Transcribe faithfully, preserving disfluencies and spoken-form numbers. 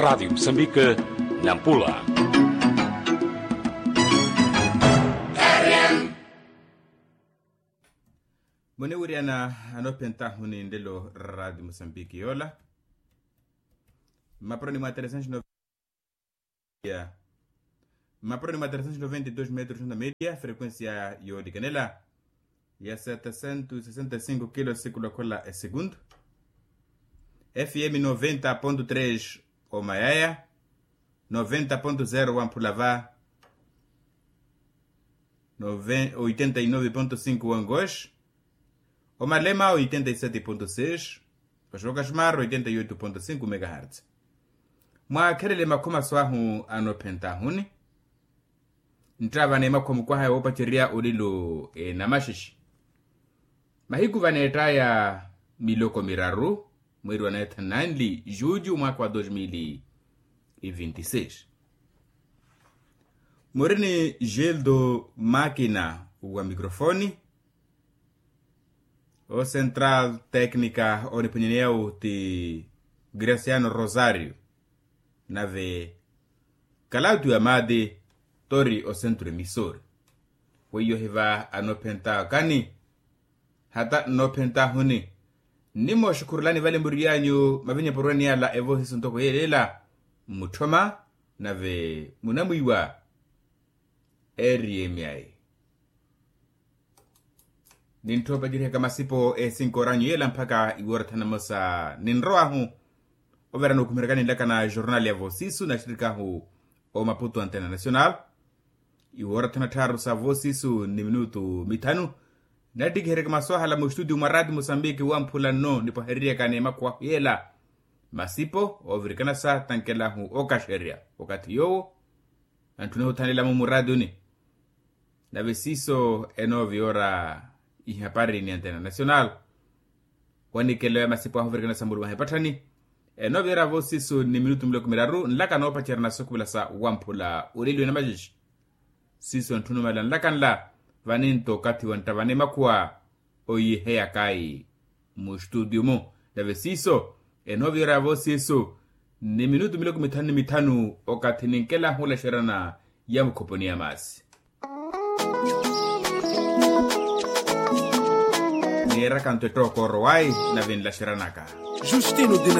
Rádio Moçambique, Nampula. Muniwiriyana anophentahuni nlelo. Rádio Moçambique yoola. Mmaporoni mwa trezentos noventa, mmaporoni mwa trezentos noventa e dois metros na média, frequência yoolikanela ya setecentos e sessenta e cinco kilos, sikulu akhola esegundu. F M noventa ponto três omayaya, noventa ponto zero wamphula va, oitenta e nove ponto cinco wangoes, omalema oitenta e sete ponto seis, oxoka xmar oitenta e oito ponto cinco megahertz. Mwaakhelele makhumaso ahu anophentahuni. Nttava n'emakhuwa mukwaha woopacerya olilo enamaxixi. Mahiku vaneettaya miloko miraru, mweeri wa naithananli juju mwaakha wa dos mil e vinti seis. Muri ni gildo makina wa mikrofoni. O central técnica oniphunyeneyawu ti graciano rosario, nave kalauti wa maati tori osentru emisori. Weiyo hiva anophenta okani, hata nnophentahuni. Nnimooxukhurulani vale muriyanyu mavinyeporwani yala evoosiso ntoko yeelela mmutthoma, nave munamwiiwa. Eri emyayi nintthoopacerihaka masipo esinkoranyu yeela mpakha iwoora thana mosa ninrowahu. Overano okhumirakani nlakana jornal ya voosisu naxirikahu omaputo antena nacional. Iwoora thana tthaaru sa voosisu ni minutu mithanu. Nattikiheryaka masu ahala muxtutiyu mwa raati musambiki wamphula nno nipwahereryaka n'emakhuwa ahu yeela. Masipo oovirikanasa tankelahu okaxerya wakathi yoowo. Antthuna othanelamo muraatuni. Nave siiso enooviyoora ihapari ni antena nacional. Wanikelo ya masipo ahu ovirikana sa mulumaha epatthani. Enooviyoora voosiso ni minutu miloko miraru nlaka noopacerya na sokupila sa wamphula oleliwe na maxixi. Siiso ntthunumala nlaka nla vaninto okathi wanttavana emakhuwa oyiheyakayi. Muxtutiyu-mu nave siiso enooviyoora voosiso ni minutu miloko mithanu ni mithanu okathi ninkelahu olaxeryana ya mukhoponi ya maasi. Niiraka nto ettooko orowayi nave nlaxeranaka. Justino de